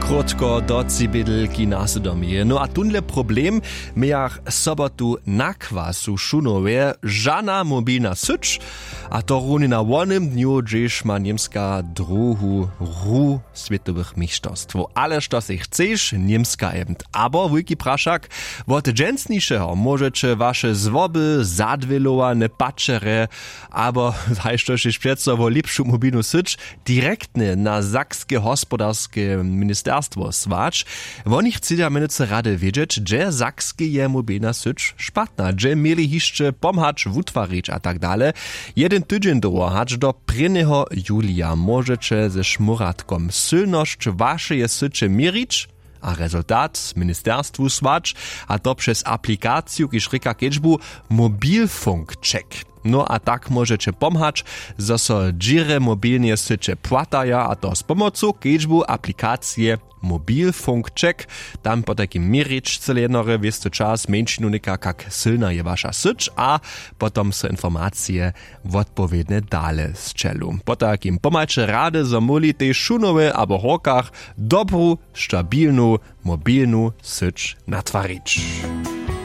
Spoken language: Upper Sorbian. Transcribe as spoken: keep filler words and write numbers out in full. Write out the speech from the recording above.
Krótko do cibědlki na sydomje. No a tónle problem mějach sobotu na kwasu w šunowje žana mobilna syć. A to runje na wonym dnju hdźež ma němska druhu hru swětowych měšćerstwow ale što sej chceš němska event abo wulki prašak. Wot dźensnišeho móžeće waše złoby zadwělowane pačerje abo haj što šež přeco wo lěpšu mobilnu syć direktnje na sakske hospodarske ministerstwo słać. Woni chcedźa mjenujcy rady wědźeć hdźe sakskeje mobilna syć špatna hdźe měli hišće pomhać wutwarić a tak dale. Jedyn tydźeń dołho hač do prěnjeho julija móžeće ze šmóratkom sylnosć wašeje syće měrić a rezultat ministerstwu słać, a to přez aplikaciju kiž rěka kedźbu mobilfunk check. No a tak móžeće pomhać zo so dźěrje mobilneje syće płataja a to z pomocu kedźbu aplikacije mobilfunk check. Tam potajkim měrić cyle jednore wěsty čas mjeńšinu něka kak sylna je waša syć a potom so informacije wotpowědnje dale sćelu. Potajkim pomhaće rady zo móhli tež šunowe abo w horkach dobru stabilnu mobilnu syć natwarić.